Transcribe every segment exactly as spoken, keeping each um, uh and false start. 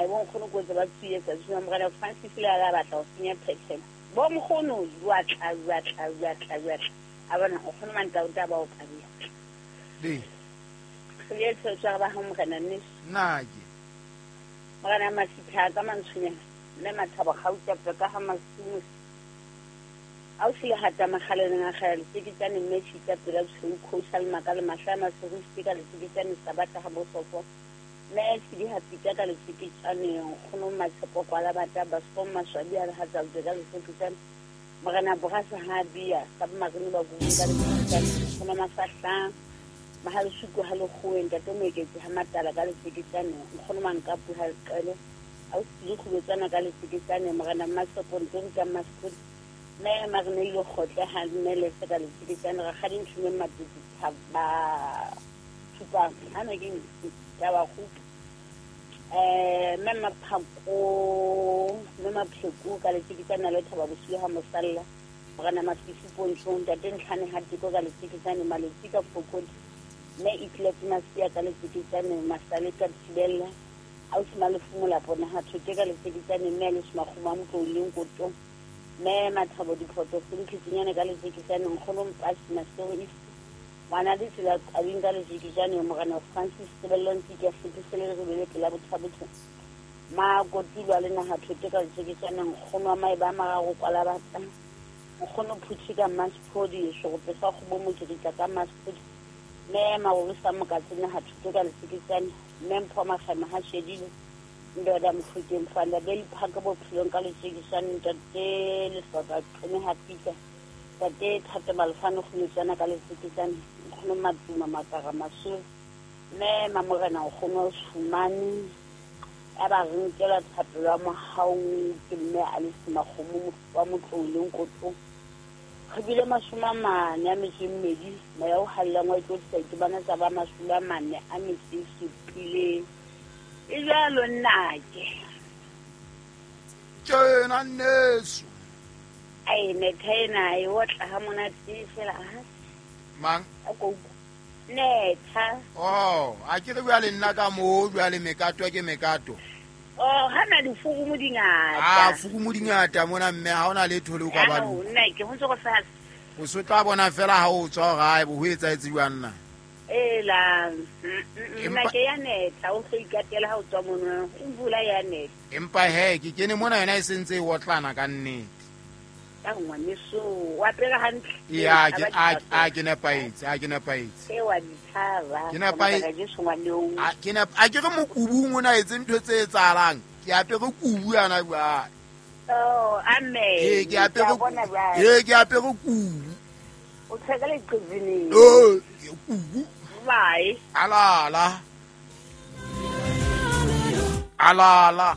mae bonkgono ko tse ba tsuyetsa tsena morena Francis le ala batla ho senya phethela bonkgono jwa tla jwa tla jwa tla jwa a bona o kgona manta o taba o pabia di le tsa ba ha morena ne na ke morena Masitha ka mantshunya mme Mathabo Gauta ka ha masumu a o sile hata magaleng a gale tseketsane mme tshita pela tshou khosa le makale mahlama se ka le tseketsane sabata ha bosofo mme se di hapita ka le tseketsane nkgono Matshepo kwa la bata ba soma maswabi a ha tsa ka le tseketsane morena Borasa ha bia sa marino ba go ka le tseketsane nkgono Mafahla Mahalusuku ha le goeng ntate Moeketsi ha Matala ka le tseketsane nkgono Mankapu ha qele a o se khubetsana ka le tseketsane morena Matshepo ntse ka Maskodi mme marine ile khotle ha mmele se ka le tseketsane ra ga dintshwe matiti ba thupa ha ne ke tsa ba go eh mme Maphako mme Mapheko ka le tseketsane le thaba bosigo ha mosalla morena Masisi Pontshong ntate Ntlhane ha tiko ka le tseketsane malotsi ka fokodi mme itletse masia ka le tseketsane masale ka thibella a o se malefumo la bona ha thote ka le tseketsane mme le smakgoma motlo koto mme Mathabo diphoto se ditsinyane ka le tseketsane nkgono Mpasi Masero East ngwana ditsela kabing ka le tseketsane morena Francis Sebellong ke fetisele re bele pela bothabotho ma kotilwa le naha thote ka le tseketsane nkgono wa mae ba mararo kwala batla nkgono Phuthi ka Masphodi segope sa kgobo mokiritla ka Masphodi mme Marorisa Mokatsene ha thote ka le tseketsane mme Mpho Makgema ha shedile ndoda Mofokeng fanda be liphaka bophelong ka le tseketsane ntate Lehlaka qene ha pita ntate Thate Malefane go metsana ka le tseketsane nkgono Matuma Makara Masoro mme Mamorena nkgono Sfumane a ba re nkela thapelo ya mohau ke mme a le Semakgomo wa Motlouleng kotong re bile mashome a mane a metso e mmedi moya o hallang wa itlotlisa ditebana tsa ba mashome a mane a metso e supileng e jalo nnake tjena nneso ai netha ena e otla ha monate fela ha mang a ko netha oh a ke re bua le nna ka mo bua le mekato ke mekato oh ha na difurumu dingata ah furumu dingata mona mme ha ona letho le o ka ba lo nna ke ho ntse go sa o so tla bona fela ha o tswa gae bo ho etsaetse jwang nna ela nna ke ya netha o tlo ikatela ha o tswa mono imvula ya netha empa he ke kene mona yona e sentse e otlana ka nnete ka ngwaneso wa pela hantle ya ke a a ke nepaetse a ke nepaetse e wa dithaba ke nepaetse Jesu ngwaneo a ke ne a ke re mokubung ona etse ntho tse etsahalang ke apere kubu yana jwale oh amen e ke apere e ke apere kubu o tsheka le qezineng oh ke kubu bye alala alala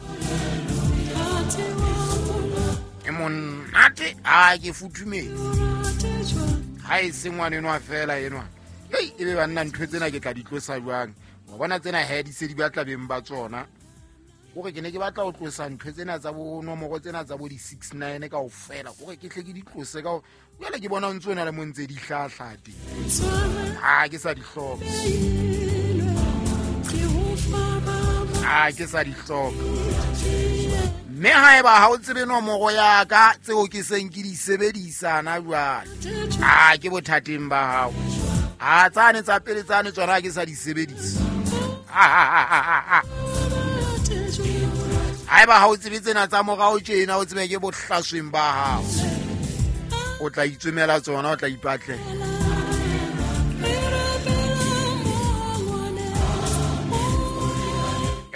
e monate a ke futhumetse ha e se ngwane enwa fela enwa hei ebe banna ntho tsena ke tla di tlosa jwang wa bona tsena he di se di batla beng ba tsona hore ke ne ke batla ho tlosa ntho tsena tsa bo nomoro tsena tsa bo di six nine kaofela hore ke hle ke di tlose ka jwale ke bona ntse ona le mo ntse di hlahla teng ha ke sa di hloka ha ke sa di hloka mme haeba ha o tsebe nomoro ya ka tseo ke seng ke di sebedisa na jwale ha ke bothateng ba hao ha tsane tsa pele tsane tsona ke sa di sebedisa ha ha ha ha haeba ha o tsebe tsena tsa morao tjena o tsebe ke bohlasweng ba hao o tla itsomela tsona o tla ipatlela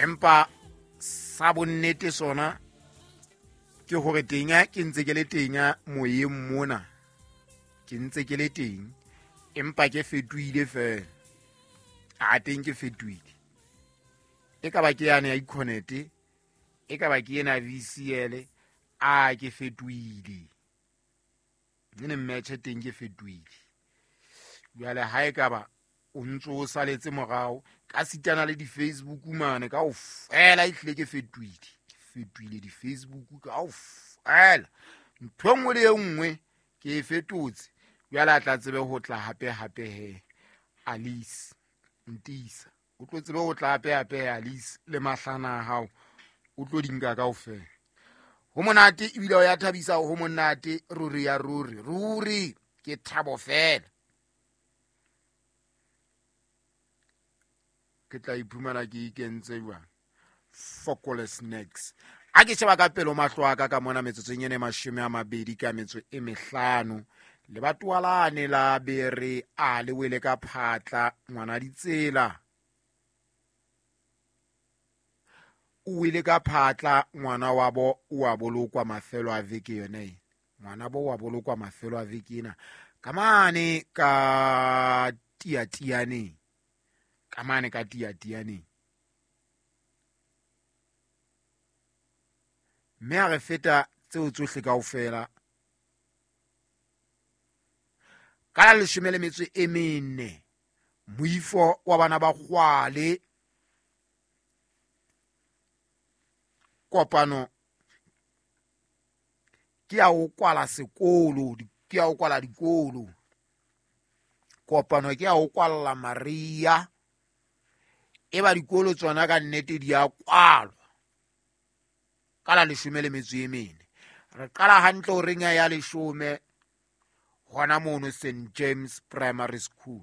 empa sa bonnete sona ke hore teng ke ntse ke le teng moyeng mona ke ntse ke le teng empa ke fetohile fela a teng ke fetohile e ka ba ke yane ya Econet e ka ba ke ena V C L a ke fetohile ne match teng ke fetohile jwale ha e ka ba o ntso o saletse morao ka sitana le di Facebook mane ka ofela e hlile ke fetohile fetohile di Facebook ka ofela ntho nngwe le e nngwe ke e fetotse jwale a tla tsebe ho tla hape hape he Alice Ntisa o tlo tsebe ho tla hape hape Alice le mahlana a hao O tlo di nka kaofela. Ho monate ebile o ya thabisa, ho monate ruri ya ruri. Ruri ke thabo fela. Ke tla iphumana ke ikentse jwang? Fokole snacks. A ke sheba ka pelo mahlo a ka ka mona metsotsong ene mashome a mabedi ka metso e mehlano. Lebatowa lane la bere a le wele ka phatla ngwana ditsela. O wele ka phatla ngwana wa bo o a bolokwa mafelo a veke yona ena. Ngwana bo wa bolokwa mafelo a veke ena. Ka mane ka tiatianeng. Ka mane ka tiatianeng. Mme a re feta tseo tsohle kaofela. Ka la leshome le metso e mene, moifo wa bana ba Kgwale, kopano ke ya ho kwala sekolo, ke ya ho kwala dikolo. Kopano ke ya ho kwalla Maria. E ba dikolo tsona ka nnete di a kwalwa. Ka la leshome le metso e mene. Re qala hantle ho renga ya leshome hona mono Saint James Primary School.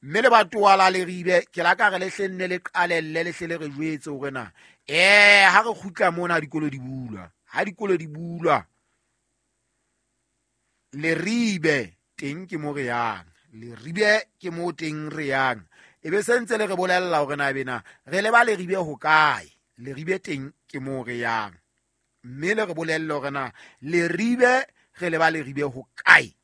Mme lebatowa la Leribe ke la ka re le hlenne le qalelle le hle le re jwetse hore na eh ha re kgutla mona dikolo di bulwa. Ha dikolo di bulwa Leribe teng ke mo re yang. Leribe ke mo teng re yang. E be se ntse le re bolella hore na bena re leba Leribe ho kae. Leribe teng ke mo re yang. Mme le re bolelle hore na Leribe re leba Leribe ho kae.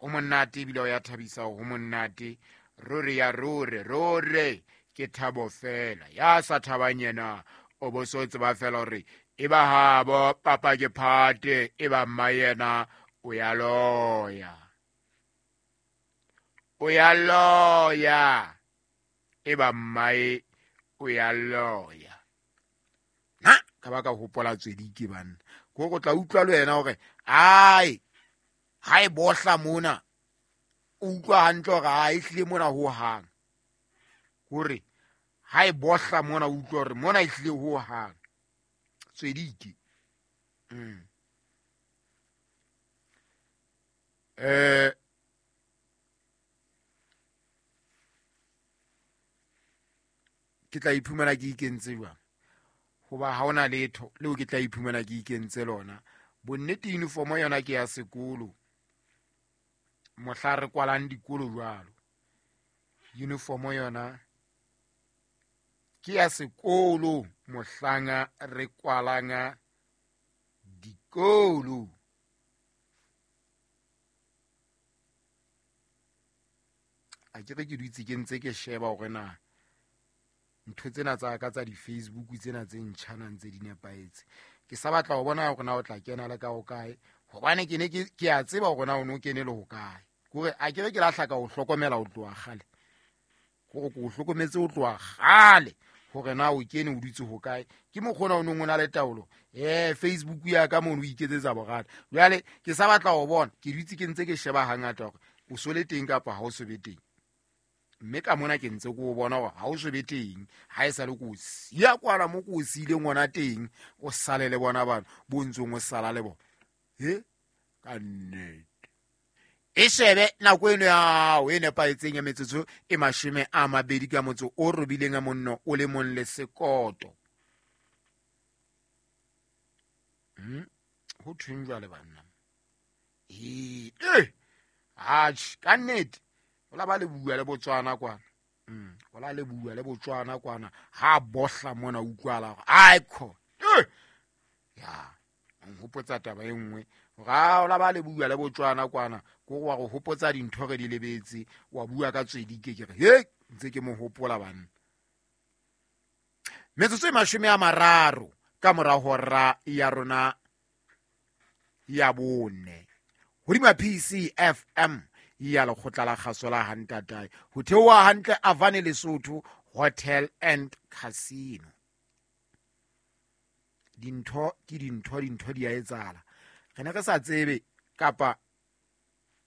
O monate ebile o ya thabisa, ho monate ruri ya ruri ruri ke thabo fela. Ya sa thabang yena o bo so tseba fela hore e ba habo papa ke phate, e ba mma yena o ya loya. O ya loya. E ba mmae o ya loya. Na ka ba ka hopola tswedi ke banna. Ko go tla utlwa le wena hore ai ha e bohla mona o utlwa hantle hore ha e hlile mona ho hang. Hore ha e bohla mona o utlwa hore mona e hlile ho hang. Tswedi ke. Mm. Eh ke tla iphumana ke ikentse jwang? Hoba ha hona letho leo ke tla iphumana ke ikentse lona. Bonnete uniform yona ke ya sekolo. Mohla re kwalang dikolo jwalo. Uniform yona ke ya sekolo mohlanga re kwalanga dikolo. A ke re ke dutse ke ntse ke sheba hore na ntho tsena tsa ka tsa di-Facebook tsena tse ntjhana ntse di nepahetse. Ke sa batla ho bona hore na o tla kena le ka ho kae, hobane ke ne ke ke a tseba hore na o no kene le ho kae. Kore a ke re ke lahla ka ho hlokomela ho tloha kgale. Kore ke o hlokometse ho tloha kgale hore na o kene o dutse ho kae. Ke mokgona o nong o na le taolo. Eh Facebook ya ka mono o iketsetsa borata. Jwale ke sa batla ho bona, ke dutse ke ntse ke sheba hangata hore o so le teng kapa ha o so be teng. Mme ka mona ke ntse ke o bona hore ha o so be teng, ha e sa le ko siya kwala mo ko o siileng ona teng, o sale le bona bana bo ntsong o sala le bona. He ka nnete. E shebe nako eno ya hao e nepahetseng ya metsotso e mashome a mabedi ka motso o robileng a monno o le mong le sekoto. Hmm? Ho thweng jwale banna? Eh, eh, atjhe, ka nnete. Ola ba le bua le Botswana kwana. Mm, ola le bua le Botswana kwana. Ha bohla mona utlwala hore aikho. Eh. Ya, nhopotsa taba e nngwe. Ra ola ba le bua le Botswana kwana, ko wa go hopotsa dintho re di lebetse, wa bua ka tswedi ke ke re, he, ntse ke mo hopola banna. Metsotso e mashome a mararo ka mora hora ya rona ya bone. Hodima P C F M ya lekgotla la kgaso la Hantatae. Ho theoha hantle Avane Lesotho Hotel and Casino. Dintho ke dintho, dintho di a etsahala. Re ne re sa tsebe kapa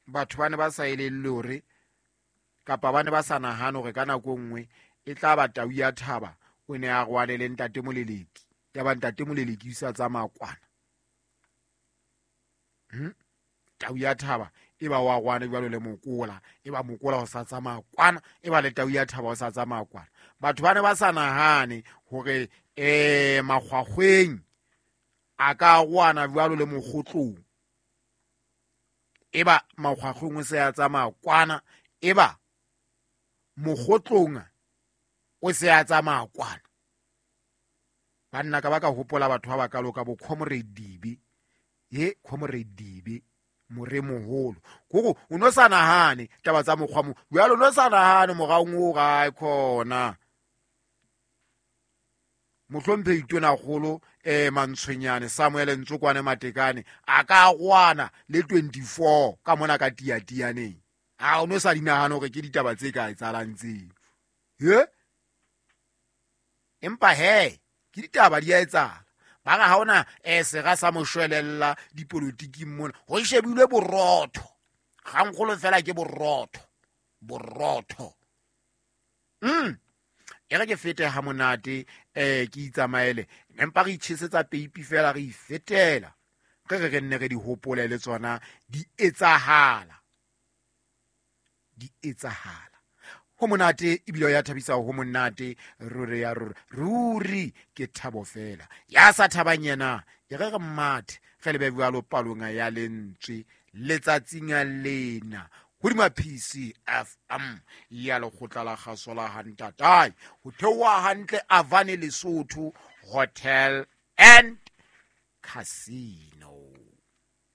batho ba ne ba sa elellwe hore kapa ba ne ba sa nahane hore ka nako nngwe E tla ba tau ya thaba o ne a rwale le ntate Moleleki. Ya ba ntate Moleleki o sa tsamaya kwana. Hmm? Tau ya thaba e ba wa rwane jwalo le mokola, e ba mokola o sa tsamaya kwana, e ba le tau ya thaba o sa tsamaya kwana. Batho ba ne ba sa nahane hore eh makgwakgweng a ka rwana jwalo le mokgotlong. E ba makgwakgweng o se a tsamaya kwana, e ba mokgotlong o se a tsamaya kwana. Banna ka ba ka hopola batho ba bakalo ka bo Comrade Dibe. Ye Comrade Dibe moremoholo. Koko o no sa nahane taba tsa mokgwa mo. Jwalo no sa nahane moraong o gae khona. Mohlomphehi Tonakgolo eh Mantshwenyane Samuel Ntsokwane Matekane a ka rwana le twenty-four ka mona ka tiatianeng. Ha o no sa di nahane hore ke ditaba tse ka etsahalang tseo. He? Empa he, ke ditaba di a etsahala. Ba re ha ona eh sera sa moshwelella dipolotiking mona. Ho shebilwe borotho. Kgankgolo fela ke borotho. Borotho. Mm. E re ke fete ha monate eh ke itsamaele. Empa re itjhesetsa peipi fela re ifetela. Re re re nne re di hopole le tsona di etsahala. Di etsahala. Ho monate ebile ya thabisa ho monate ruri ya ruri. Ruri ke thabo fela. Ya sa thabang yena e re re mathe re lebe jwalo palong ya lentswe letsatsing lena. Hodima P C F M ya lekgotla la kgaso la Hantatai. Ho theoha hantle Avane Lesotho Hotel and Casino.